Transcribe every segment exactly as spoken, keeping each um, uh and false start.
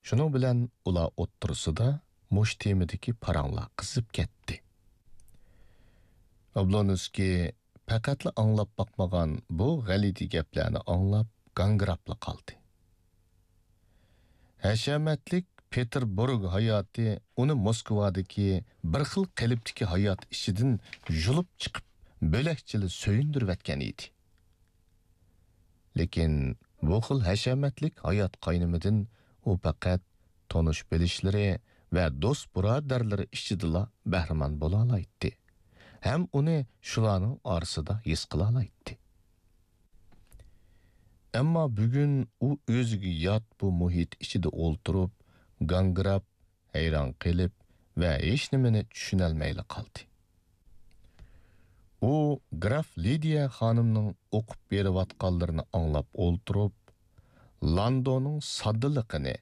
شۇنىڭ بىلەن ئۇلار ئوتتۇرىسىدا مۇشۇ تېمىدىكى پاراڭلار قىزىپ كەتتى. ئابلونسكىي پەقەتلا ئاڭلاپ باقمىغان بۇ غەلىتە گەپلەرنى ئاڭلاپ گاڭگىراپلا قالدى. ھەشەمەتلىك پېتېربۇرگ ھاياتى ئۇنى موسكۋادىكى بىر خىل قېلىپتىكى ھايات ئىچىدىن يۇلۇپ چىقىپ، بۆلەكچىلا سۆيۈندۈرۈۋەتكەن ئىدى. لېكىن بۇ خىل ھەشەمەتلىك ھايات قاينىمىدىن ئۇ پەقەت تونۇش-بىلىشلىرى ۋە دوست-بۇرادەرلىرى ئىچىدىلا بەھرىمەن بولالايتتى ھەم ئۇنى شۇلارنىڭ ئارىسىدا ھېس قىلالايتتى. ئەمما بۈگۈن ئۇ ئۆزىگە يات بۇ مۇھىت ئىچىدە ئولتۇرۇپ، گاڭگىراپ، ھەيران قېلىپ ۋە ھېچنېمىنى چۈشىنەلمەيلا قالدى. ئۇ گراف لىدىيە خانىمنىڭ ئوقۇپ بېرىۋاتقانلىرىنى ئاڭلاپ ئولتۇرۇپ، لاندونىڭ ساددىلىقىنى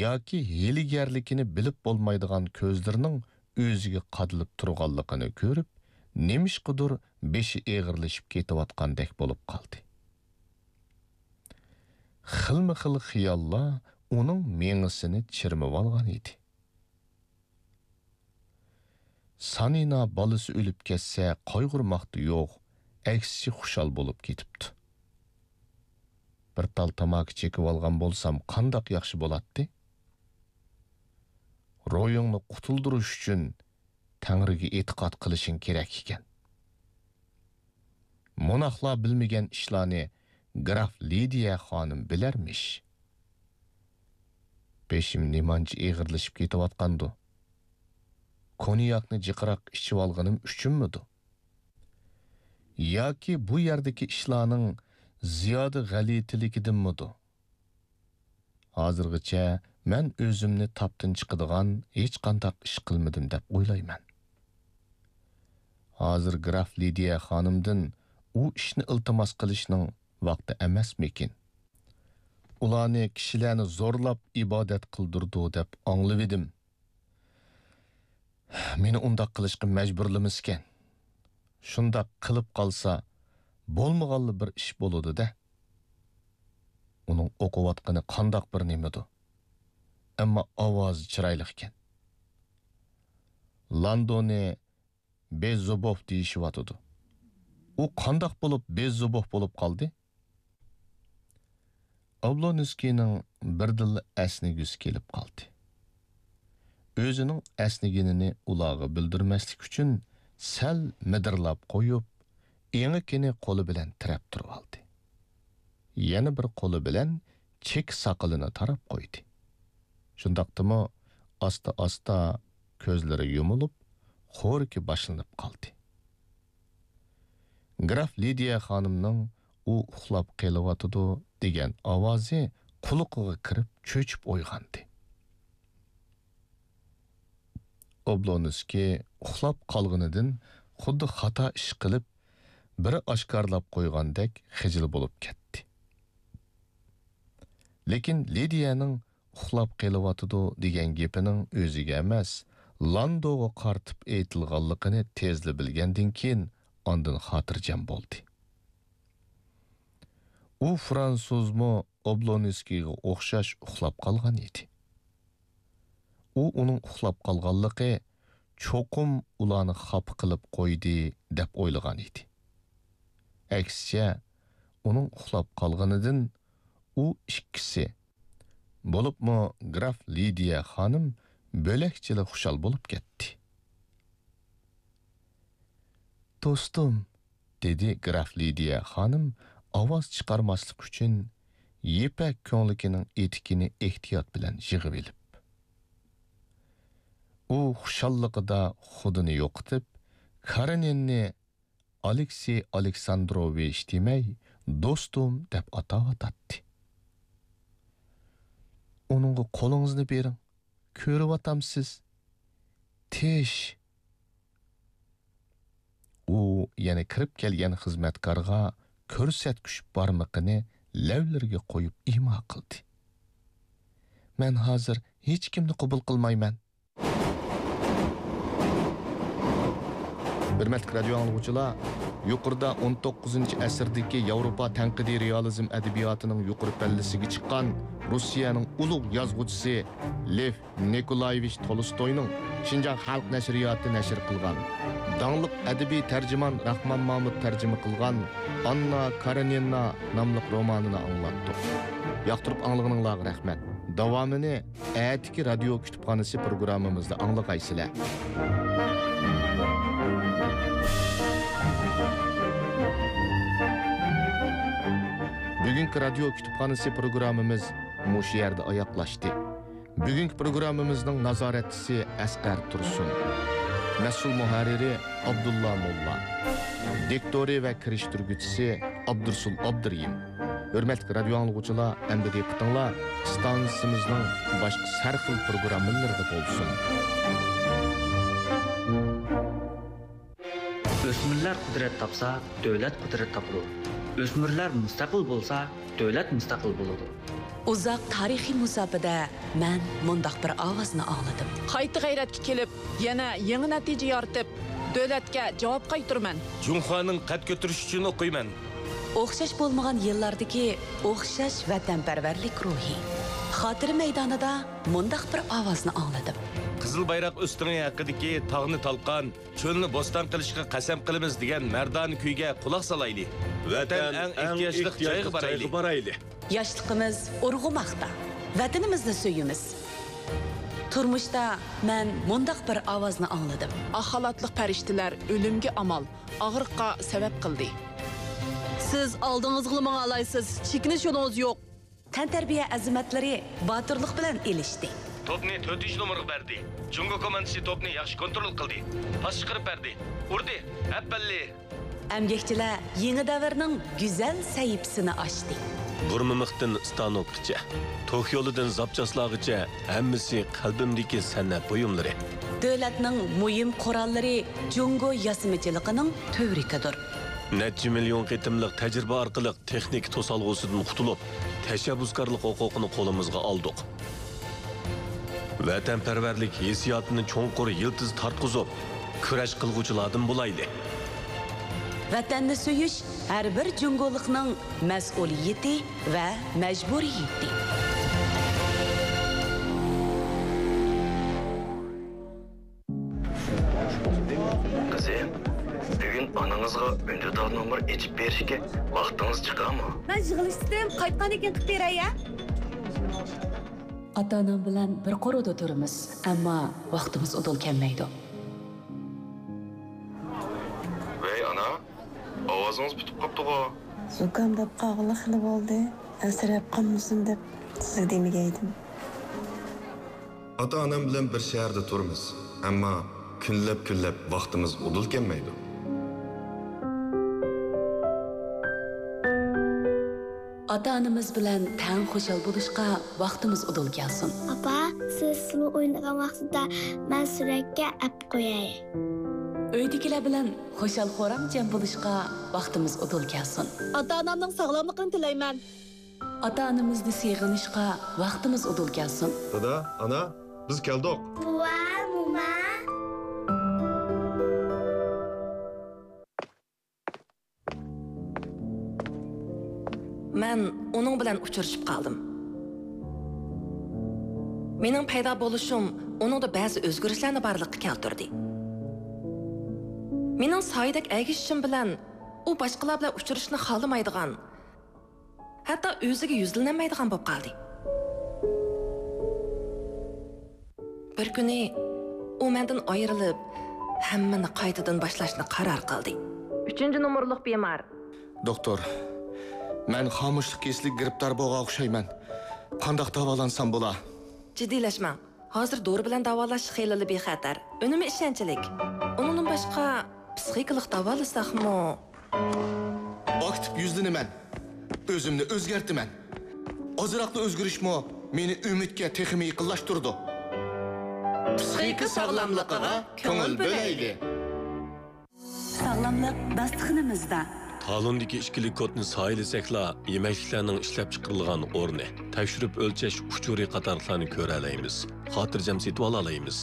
ياكى ھىيلىگەرلىكىنى بىلىپ بولمايدىغان كۆزلىرىنىڭ ئۆزىگە قادىلىپ تۇرغانلىقىنى كۆرۈپ، نېمىشقىدۇر بېشى ئېغىرلىشىپ كېتىۋاتقاندەك بولۇپ قالدى. خىلمۇ خىل خىياللار ئۇنىڭ مېڭىسىنى چىرمىۋالغان ئىدى. سانىنا بالىسى ئۆلۈپ كەتسە قايغۇرماقتا يوق، ئەكسىچە خۇشال بولۇپ كېتىپتۇ. بىر تال تاماكا چېكىۋالغان بولسام قانداق ياخشى بولاتتى؟ روھىڭنى قۇتۇلدۇرۇش ئۈچۈن تەڭرىگە ئېتىقاد قىلىشىڭ كېرەك ئىكەن. مۇناقلا بىلمىگەن ئىشلارنى گراف لىدىيە خانىم بىلەرمىش؟ بېشىم نېمانچە ئېغىرلىشىپ كېتىۋاتقاندۇ؟ كونياكنى جىقراق ئىچىۋالغىنىم ئۈچۈنمىدۇ؟ ياكى بۇ يەردىكى ئىشلارنىڭ زىيادە غەلىتىلىكىدىنمىدۇ؟ ھازىرغىچە مەن ئۆزۈمنى تاپتىن چىقىدىغان ھېچقانداق ئىش قىلمىدىم دەپ ئويلايمەن. ھازىر گراف لىدىيە خانىمدىن ئۇ ئىشنى ئىلتىماس قىلىشنىڭ ۋاقتى ئەمەسمىكىن؟ ئۇلارنى كىشىلەرنى زورلاپ ئىبادەت قىلدۇرىدۇ دەپ ئاڭلىۋىدىم. مېنى ئۇنداق قىلىشقا مەجبۇرلىمىسىكەن. شۇنداق قىلىپ قالسا، بولمىغانلا بىر ئىش بولىدۇ-دە. ئۇنىڭ ئوقۇۋاتقىنى قانداق بىر نېمىدۇ؟ ئەمما ئاۋازى چىرايلىقكەن. لاندونى بېززوبوف دېيىشىۋاتىدۇ. ئۇ قانداق بولۇپ بېززوبوف بولۇپ قالدى؟ ئابلونسكىينىڭ بىردىنلا ئەسنىگۈسى كېلىپ قالدى. ئۆزىنىڭ ئەسنىگىنىنى ئۇلارغا بىلدۈرمەسلىك ئۈچۈن سەل مىدىرلاپ قويۇپ، ئېڭىكىنى قولى بىلەن تىرەپ تۇرۇۋالدى. يەنە بىر قولى بىلەن چېكە ساقىلىنى تاراپ قويدى. شۇنداقتىمۇ ئاستا-ئاستا كۆزلىرى يۇمۇلۇپ، خورىكى باشلىنىپ قالدى. گراف لىدىيە خانىمنىڭ «ئۇ ئۇخلاپ قېلىۋاتىدۇ» دېگەن ئاۋازى قۇلىقىغا كىرىپ چۆچۈپ ئويغاندى. ئوبلونسكىي ئۇخلاپ قالغىنىدىن خۇددى خاتا ئىش قىلىپ، بىرى ئاشكارىلاپ قويغاندەك خىجىل بولۇپ كەتتى. لېكىن لىدىيەنىڭ «ئۇخلاپ قېلىۋاتىدۇ» دېگەن گېپىنىڭ ئۆزىگە ئەمەس، لاندوغا قارىتىپ ئېيتىلغانلىقىنى تېزلا بىلگەندىن كېيىن، ئاندىن خاتىرجەم بولدى. ئۇ فرانسۇزمۇ ئوبلونسكىيغا ئوخشاش ئۇخلاپ قالغان ئىدى. ئۇ ئۇنىڭ ئۇخلاپ قالغانلىقى چوقۇم ئۇلارنى خاپا قىلىپ قويدى دەپ ئويلىغان ئىدى. ئەكسىچە، ئۇنىڭ ئۇخلاپ قالغىنىدىن ئۇ ئىككىسى، بولۇپمۇ گراف لىدىيە خانىم بۆلەكچىلا خۇشال بولۇپ كەتتى. «دوستۇم»، دېدى گراف لىدىيە خانىم ئاۋاز چىقارماسلىق ئۈچۈن يىپەك كۆڭلىكىنىڭ ئېتىكىنى ئېھتىيات بىلەن يىغىۋېلىپ. ئۇ خۇشاللىقىدا خۇدىنى يوقىتىپ، كارېنىننى ئالېكسېي ئالېكساندروۋىچ دېمەي، «دوستۇم» دەپ ئاتاۋاتاتتى. «ئۇنىڭغا قولىڭىزنى بېرىڭ، كۆرۈۋاتامسىز؟ تىش!» ئۇ يەنە كىرىپ كەلگەن خىزمەتكارغا كۆرسەتكۈچ بارمىقىنى لەۋلىرىگە قويۇپ ئىما قىلدى. «مەن ھازىر ھېچكىمنى قوبۇل قىلمايمەن.» ھۆرمەتلىك رادىيو ئاڭلىغۇچىلار، يۇقىرىدا ئون توققۇزىنچى ئەسىردىكى ياۋروپا تەنقىدىي رېئالىزم ئەدەبىياتىنىڭ يۇقىرى پەللىسىگە چىققان روسىيەنىڭ ئۇلۇغ يازغۇچىسى لېف نىكولايېۋىچ تولستوينىڭ شىنجاڭ خەلق نەشرىياتى نەشر قىلغان، داڭلىق ئەدەبىي تەرجىمان راخمان مامۇت تەرجىمە قىلغان ئاننا كارېنىنا ناملىق رومانىنى ئاڭلاتتۇق. ياقتۇرۇپ ئاڭلىغىنىڭلارغا رەھمەت. داۋامىنى ئەتىكى رادىيو كۇتۇپخانىسى پروگراممىمىزدا ئاڭلىغايسىلەر. بۈگۈنكى رادىيو كۇتۇپخانىسى پروگراممىمىز مۇشۇ يەردە ئاياغلاشتى. بۈگۈنكى پروگراممىمىزنىڭ نازارەتچىسى ئەسقەر تۇرسۇن، مەسئۇل مۇھەررىرى ئابدۇللا موللا، دىكتورى ۋە كىرىشتۈرگۈچىسى ئابدۇرسۇل ئابدۇرېھىم. ھۆرمەتلىك رادىيو ئاڭلىغۇچىلار، ئەمدى دىققىتىڭلار ئىستانسىمىزنىڭ باشقا سەرخىل پروگراممىلىرىدا بولسۇن. ئۆسمۈرلەر قۇدرەت تاپسا، دۆلەت قۇدرەت تاپىدۇ. ئۆسمۈرلەر مۇستەقىل بولسا، دۆلەت مۇستەقىل بولىدۇ. ئۇزاق تارىخىي مۇساپىدە مەن مۇنداق بىر ئاۋازنى ئاڭلىدىم. قايتا غەيرەتكە كېلىپ، يەنە يېڭى نەتىجە يارىتىپ، دۆلەتكە جاۋاب قايتۇرىمەن. جۇڭخۇانىڭ قەد كۆتۈرۈشى ئۈچۈن ئوقۇيمەن. ئوخشاش بولمىغان يىللاردىكى ئوخشاش ۋەتەنپەرۋەرلىك روھى. خاتىرە مەيدانىدا مۇنداق بىر ئاۋازنى ئاڭلىدىم. قىزىل بايراق ئۆستىڭى ھەققىدىكى تاغنى تالقان، چۆلنى بوستان قىلىشقا قەسەم قىلىمىز دېگەن مەردانە كۈيگە قۇلاق سالايلى. ۋەتەن ئەڭ ئېھتىياجلىق جايغا بارايلى. ياشلىقىمىز ئۇرغۇماقتا. ۋەتىنىمىزنى سۆيىمىز. تۇرمۇشتا مەن مۇنداق بىر ئاۋازنى ئاڭلىدىم. ئاق خالاتلىق پەرىشتىلەر ئۆلۈمگە ئامال، ئاغرىققا سەۋەب قىلدى. سىز ئالدىڭىزغىلا ماڭالايسىز، چېكىنىش يولىڭىز يوق. تەنتەربىيە ئەزىمەتلىرى باتۇرلۇق بىلەن ئېلىشتى. توپنى تۆتىنچى نومۇرغا بەردى. جۇڭگو كوماندىسى توپنى ياخشى كونترول قىلدى. پاس چىقىرىپ بەردى. ئۇردى. ئەپەللى! ئەمگەكچىلەر يېڭى دەۋرنىڭ گۈزەل سەھىپىسىنى ئاچتى. بۇرمىمىختىن ستانوكقىچە، توك يولىدىن زاپچاسلارغىچە ھەممىسى قەلبىمدىكى سەنئەت بۇيۇملىرى. دۆلەتنىڭ مۇھىم قوراللىرى جۇڭگو ياسىمىچىلىقىنىڭ تۈۋرۈكىدۇر. نەچچە مىليون قېتىملىق تەجرىبە ئارقىلىق تېخنىكا توسالغۇسىدىن قۇتۇلۇپ، تەشەببۇسكارلىق ھوقۇقىنى قولىمىزغا ئالدۇق. ۋەتەنپەرۋەرلىك ھېسسىياتىنى چوڭقۇر يىلتىز تارتقۇزۇپ، كۈرەش قىلغۇچىلاردىن بولايلى. ۋەتەننى سۆيۈش ھەر بىر جۇڭگولۇقنىڭ مەسئۇلىيىتى ۋە مەجبۇرىيىتى. قىزىم، بۈگۈن ئانىڭىزغا ئۈندىدار نومۇر ئېچىپ بېرىشكە ۋاقتىڭىز چىقارمۇ؟ مەن يىغىلىشتىم، قايتقاندىن كېيىن قىلىپ بېرەي، ھە؟ ئاتا-ئانام بىلەن بىر قورۇدا تۇرىمىز، ئەمما ۋاقتىمىز ئۇدۇل كەلمەيدۇ. ۋەي ئانا، ئاۋازىڭىز پۈتۈپ قاپتىغۇ؟ زۇكامداپ قالغىلى خېلى بولدى، ئەنسىرەپ قالمىسۇن دەپ سىزگە دېمىگەيدىم. ئاتا-ئانام بىلەن بىر شەھەردە تۇرىمىز، ئەمما كۈنلەپ-كۈنلەپ ۋاقتىمىز ئۇدۇل كەلمەيدۇ. ئاتا-ئانىمىز بىلەن تەڭ خۇشال بولۇشقا ۋاقتىمىز ئۇدۇل كەلسۇن. ئاپا، سىز سۇلۇ ئوينىغان ۋاقتىدا مەن سۈرەتكە ئەپ قوياي. ئۆيدىكىلەر بىلەن خۇشال-خۇرام جەم بولۇشقا ۋاقتىمىز ئۇدۇل كەلسۇن. ئاتا-ئانامنىڭ ساغلاملىقىنى تىلەيمەن. ئاتا-ئانىمىزنى سېغىنىشقا ۋاقتىمىز ئۇدۇل كەلسۇن. دادا، ئانا، بىز كەلدۇق. بوۋا، موما. مەن ئۇنىڭ بىلەن ئۇچرىشىپ قالدىم. مېنىڭ پەيدا بولۇشۇم ئۇنىڭدا بەزى ئۆزگىرىشلەرنى بارلىققا كەلتۈردى. مېنىڭ سايىدەك ئەگىشىشىم بىلەن ئۇ باشقىلار بىلەن ئۇچرىشىشنى خالىمايدىغان، ھەتتا ئۆزىگە يۈزلىنەلمەيدىغان بولۇپ قالدى. بىر كۈنى ئۇ مەندىن ئايرىلىپ، ھەممىنى قايتىدىن باشلاشنى قارار قىلدى. ئۈچىنچى نومۇرلۇق بىمار. دوختۇر، مەن خامۇشلۇق كېسىلىگە گىرىپتار بولغان ئوخشايمەن. قانداق داۋالانسام بولا؟ جىددىيلەشمەڭ. ھازىر دورا بىلەن داۋالاش خېلىلا بىخەتەر، ئۈنۈمى ئىشەنچلىك. ئۇنىڭدىن باشقا، پسىخىكىلىق داۋالىساقمۇ؟ ئاكتىپ يۈزلىنىمەن. ئۆزۈمنى ئۆزگەرتىمەن. ئازراقلا ئۆزگىرىشمۇ مېنى ئۈمىدكە تېخىمۇ يېقىنلاشتۇرىدۇ. پسىخىكا ساغلاملىقىغا كۆڭۈل بۆلەيلى. ساغلاملىق داستىخىنىمىزدا. تالوندىكى ئىككىلىك كودنى سايىلىسەكلا، يېمەكلىكلەرنىڭ ئىشلەپچىقىرىلغان ئورنى، تەكشۈرۈپ ئۆلچەش ئۇچۇرى قاتارلىقلارنى كۆرەلەيمىز. خاتىرجەم سېتىۋالالايمىز.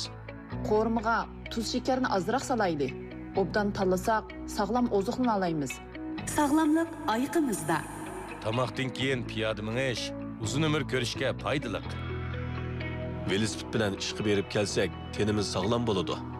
قورۇمىغا تۇز شېكەرنى ئازراق سالايلى. ئوبدان تاللىساق، ساغلام ئوزۇقلىنالايمىز. ساغلاملىق ئايىقىمىزدا. تاماقتىن كېيىن پىيادە مېڭىش ئۇزۇن ئۆمۈر كۆرۈشكە پايدىلىق. ۋېلىسىپىت بىلەن ئىشقا بېرىپ كەلسەك، تېنىمىز ساغلام بولىدۇ.